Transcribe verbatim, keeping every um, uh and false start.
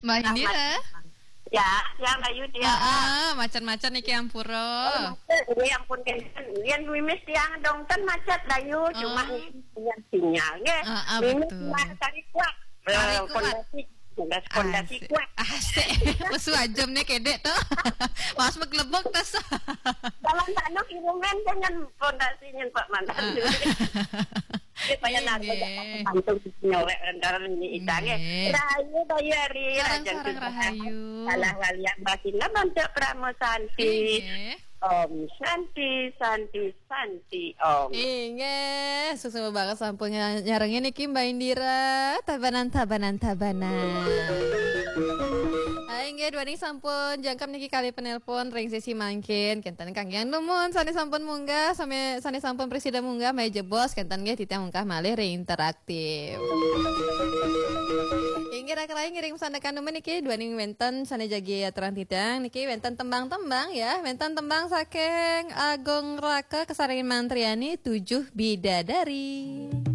Mbak Indira. Ya, ya Mbak Yudi. Ah, ah, macan-macan niki ampura. Ini ampun kan, yang mimis tiang dong kan macet Dayu, cuma punya sinyal, nggih. Ah, ah, Mimis betul. Cuma cari kuat. Cari Eh, kuat. Fondasi, fondasi, fondasi Asik. Kuat. Asik. Pesu aja nih kedek tuh. Mas meglebok tas. Dalam tanah kirumen dengan fondasinya Pak Mantan. Ah. Supaya Nggih, nanti nggih. Langsung nyolek rendaran ini idangnya. Nggih. Rahayu Bayari, Sareng, Rajan sareng Sutra. Rahayu. Salah walian basina Banca Pramu Santi. Nggih. Om Santi, Santi, Santi, Om. Inggih, sukses banget sampun nyarengin niki Mbak Indira. Tabanan, tabanan, tabanan. Ah, inggih, duaning sampun jangkep niki kali penelpon ring sesi mangkin. Kenten kanggian numun sane sampun munggah, same sane sampun presida munggah, maya jebos kenten nggih titiang munggah malih ring interaktif. Inggih, rakan ngiring sandekan numun niki duaning wenten sane jagi aturang titiang niki wenten tembang-tembang ya, wenten tembang saking Agung Raka Kesaring Mantriani, Tujuh Bidadari.